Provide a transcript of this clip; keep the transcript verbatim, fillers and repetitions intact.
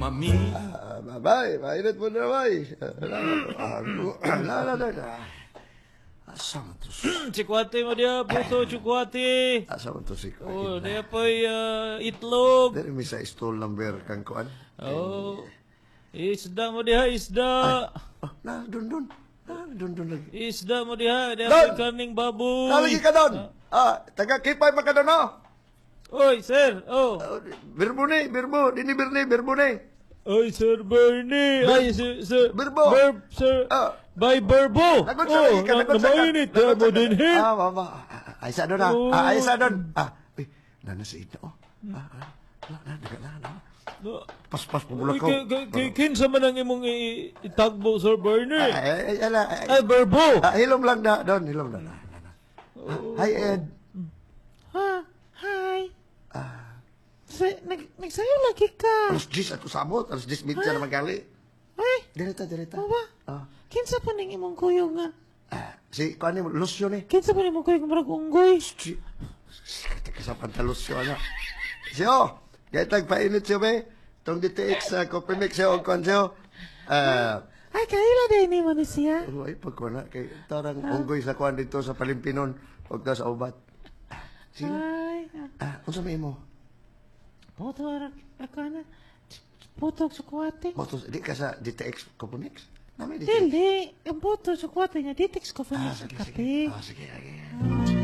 Mami. Ah, bye, mainit mo na, bay. Ah, La, la, la, la. Asa man to? Tsukwate mo diya, puto tsukwate. Asa man to si Oh, diya po'y ah, itlog. Dili mi sa stall number kang kuan. Oh. Isda mo diha, isda. Oh, na, dun, dun. Na, dun, dun lagi. Isda mo diha, diha Don! po'y kaning baboy. Nalagi ka doon. Ah, taga Kipay man ka doon, no? Oy, sir. Oh. Oh, Birbo ni, birbo. Dini birni, birbo ni. Oy, Sir Bernie. Ay, sir, sir. Birbo. Ber, sir. Ah. By Berbo. Lagot sa Oh, lagi ka, na, lagot sa ka. namainit. Lagot Mo sa ka. din he. Ah, mama. Ah, Ay, sa doon ah. Oh. Ah, ay, sa doon. Ah, uy, nana sa ito, oh. Ah, ah. Na, na, na, na, na. Paspas Uy, pumula ko. kay, kay, kay, kinsa man ang imong i- itagbo, Sir Bernie? Ay, ay, ay, ala, ay, Ay, Berbo. Ah, hilom lang na, doon, hilom na. na, na, na. Hi, Ed. Ha, hi. Sa, nag, nagsayo lagi ka. Alas diyes ato samot, alas diyes media naman gali. Ay, Direta, direta. ano ba? Ah. Kinsa pa ning imong kuyog nga? Ah, si, kuan ni, Lucio ni. Kinsa pa ning imong kuyog nga murag unggoy? Si, si, sa pantalusyo na. Siyo, gaytag painit siyo, be. Tong D T X sa Coffee Mix siyo, kuan siyo. Ah, Ay, kaila din ni mo ni siya. Oh, ay, pagkuan na, kay tarang unggoy sa kuan dito sa Palimpinon, huwag na sa ubat. Sino? Ay, Ah, unsa may imo? Puto, ako na. Puto tsukwate. Motos, di ka sa D T X Coffee Mix? Nami D T X. Dili, ang puto tsukwate niya, D T X Coffee Ah, Mix sige, kape. sige. Ah, sige, sige.